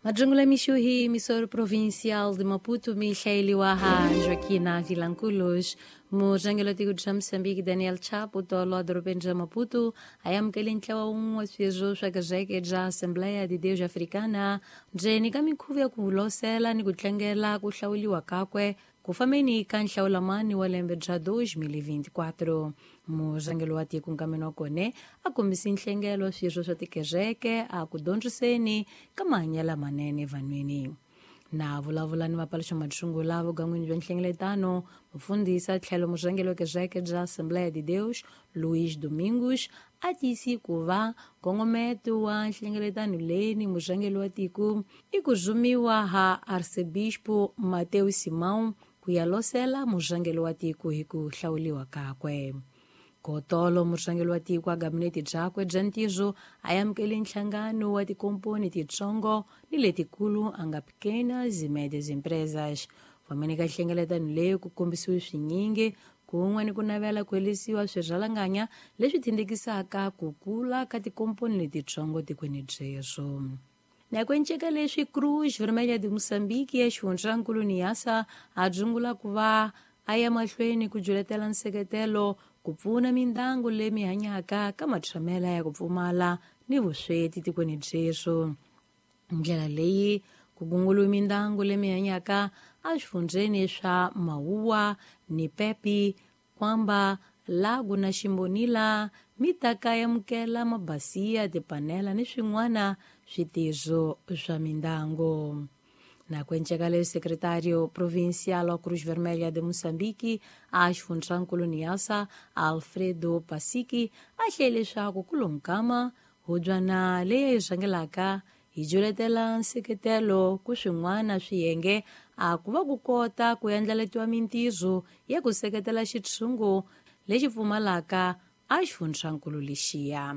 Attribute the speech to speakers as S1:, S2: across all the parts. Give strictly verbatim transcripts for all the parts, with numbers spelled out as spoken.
S1: Majungula Mixuhi, emissora provincial de Maputo, Michael Waha, Joaquina Vilanculos, Mujangelo Tigo de Moçambique, Daniel Chapo, Tolo de Maputo, ayamukele ntlawa wun'we swirho swa kereke bya Assembleia de Deus Africana, ndzeni ka minkhuvo ya ku losela ni ku tlangela ku hlawuriwa kakwe ku fambeni ka nhlawulamani wa lembe bya dois mil e vinte e quatro. Murhangeri wa tiko nkameni wa kona a kombise nhlengelo swirho swa tikereke a ku dyondziseni ka mahanyelo lamanene evanhwini. Na vulavula ni vapaluxa matshungula vugan'wini bya nhlengeletano, mufundhisi a tlhelo murhangeri wa kereke bya Assembleia de Deus, Luís Domingos, a tiyisi ku va nkongometo wa nhlengeletano leyi ni murhangeri wa tiko i ku rhumiwa ha Arcebispo Mateus Simão ku ya losela murhangeri wa tiko hi ku hlawuriwa kakwe. Kotolo murhangeri wa tiko a gabinete byakwe bya ntirho a amukele nhlangano wa tikomponi titsongo ni letikulu a nga pequenas e médias empresas. Fambeni ka nhlengeletano leyi ku kombisiwe swinyingi kun'we ni ku navela ku herisiwa swirhalanganya leswi tindekisaka ku kula ka tikomponi letitsongo tikweni byeswo. Na ku enceka leswi Cruz Vermelha de Moçambique ya xifundzankulu Niassa a dzungula ku va a ya mahlweni ku juletela nseketelo ku pfuna mindyangu leyi mi hanyaka ka matshamela ya ku pfumala ni vusweti tikweni byeswo. Ndlela leyi ku gunguluwe mindyangu leyi mi hanyaka eswifundzeni swa Mauwa ni Pepi, Kwamba, Lago na Ximbonila, mi ta ka amukela mabasiya, tipanela ni swin'wana switirho swa mindyangu. Na ku enceka leswi secretário provincial wa Cruz Vermelha de Moçambique a xifundzankulu Niassa, Alfredo Pasiki, a hlele leswaku ku lonkama hubyana leyi yi rhangelaka yi juletela nseketelo ku swin'wana swiyenge a ku va ku kota ku endlaletiwa mintirho ya ku seketela xitshungu lexi pfumalaka a xifundzankulu lexiya.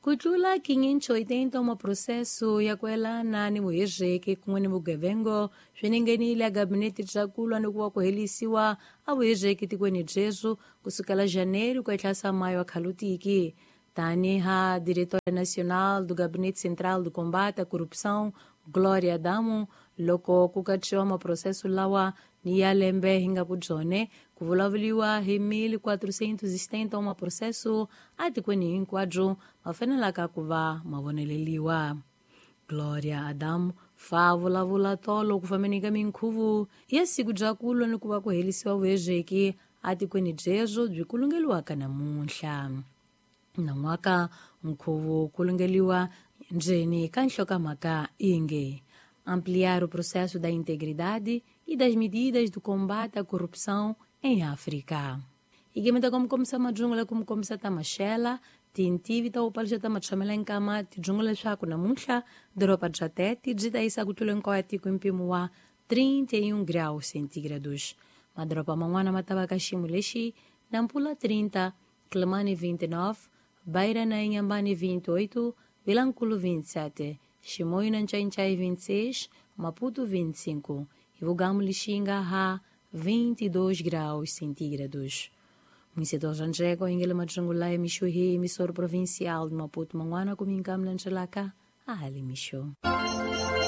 S1: Ku tlula quinhentos e oitenta uma processo ya ku elana ni vuhiriki kun'we ni vugevengo swi ningenile a gabinete bya ku lwa ni ku va ku herisiwa a vuhiriki tikweni byeswo kusukela janeiro ku etlhasa mayo wa khalutiki. Taniha diretora nacional do Gabinete Central do Combate à Corrupção, Glória Adamo, loko ku katsiwa maprocesso lawa ni ya lembe hi nga ku byone ku vulavuriwa hi mil quatrocentos e setenta uma processo atikweni hinkwabyo ma fanelaka ku va ma voneleliwa. Gloria Adamo fa vulavula tolo ku fambeni ka minkhuvo ya siku bya ku lwa ni ku va ku herisiwa vuhezeki atikweni byebyo byi kulungeliwaka namuntlha. Nan'waka nkhuvo kulungeliwa ndzeni ka nhlokomhaka inge ampliar o processo da integridade e das medidas do combate à corrupção em África. Ikemeta como komisa majungula como komisa ta maxela tintivi ta upalisha ta matshamela nkama tijungula leswaku namuntlha doroba bya Tete byi ta yisa ku tlula hinkwayo tiko hi mpimo wa trinta e um graus centígrados. Madoroba man'wana ma ta va ka xiyimo lexi Nampula trinta, Quelimane vinte e nove, Beira na Inhambane vinte e oito, Vilanculo vinte e sete, Chimoio na Nchainchai vinte e seis, Maputo vinte e cinco e Vugamu Lixinga a vinte e dois graus centígrados. Município de Anjego, Ingela Majungula, Mixuhi, emissor provincial de Maputo, Manguana, Comincam, Lanchelaca, Ali Mixu.